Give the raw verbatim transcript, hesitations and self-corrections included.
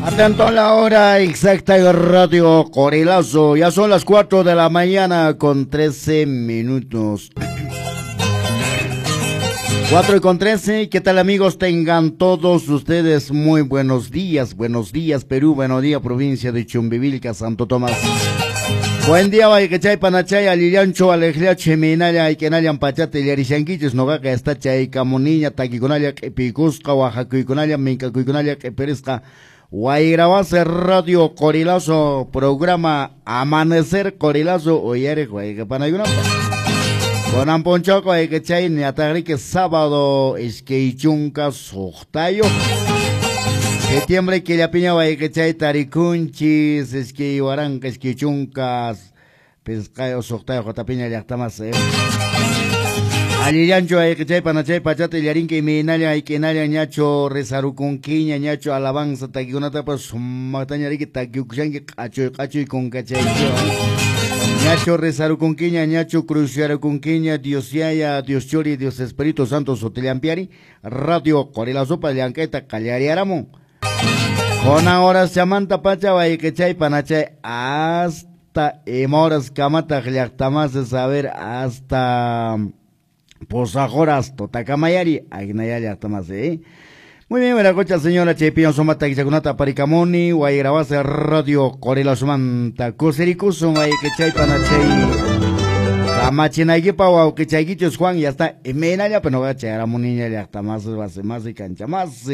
Atento a la hora exacta de Radio Qorilazo. Ya son las cuatro de la mañana con trece minutos. cuatro y con trece. ¿Qué tal, amigos? Tengan todos ustedes muy buenos días. Buenos días, Perú. Buenos días, provincia de Chumbivilca, Santo Tomás. Buen día, wayqichay, panachay, allillanchu, alejliachi, minalla, aykinallan, pachata, illarishankichis, noqaqa está chay kamuniña, takikunalla, q'ipiykusqa, waqakuykunalla, minkakuykunalla, q'ipirisqa. Wayrawase Radio Qorilazo, programa Amanecer Qorilazo, uyariq wayqipanaykunapaq. Kunan p'unchawqa wayqichay, ñataqriki sábado iskay chunka suqtayuq septiembre killapiña wayqichay tarikunchis iskay waranqa iskay chunka pisqayuq suqtayuq watapiña llaqtamas. Allillanchu wayqichay panachay pachata illarinki imaynallan aykinallan ñachu rezarukunkiña ñachu alabanza takikunatapas sumaqtaña riki takiukushanki q'achuy q'achuy kunkachaychu ñachu rezarukunkiña ñachu cruciarukunkiña Dios Yaya, Dios Churi, Dios Espíritu Santo sutillampiari Radio Qorilazopa llank'ayta qallariaramun. Kunan horas chamanta pacha wayqichay panachay hasta ima horas kamataq llaqtamasi saber hasta pusaq horas totakamayari agnaya llaqtamasi, ¿eh? Muy bien, buena señora chaypiña sumata kichakunata aparikamuni wayrawase Radio Qorilazomanta kusirikusun wayqichay panachay kamachinaykipa wawqichaykichus Juan ya está imaynalla pero noqa chayaramuniña llaqtamasi wasimasi kanchamasi.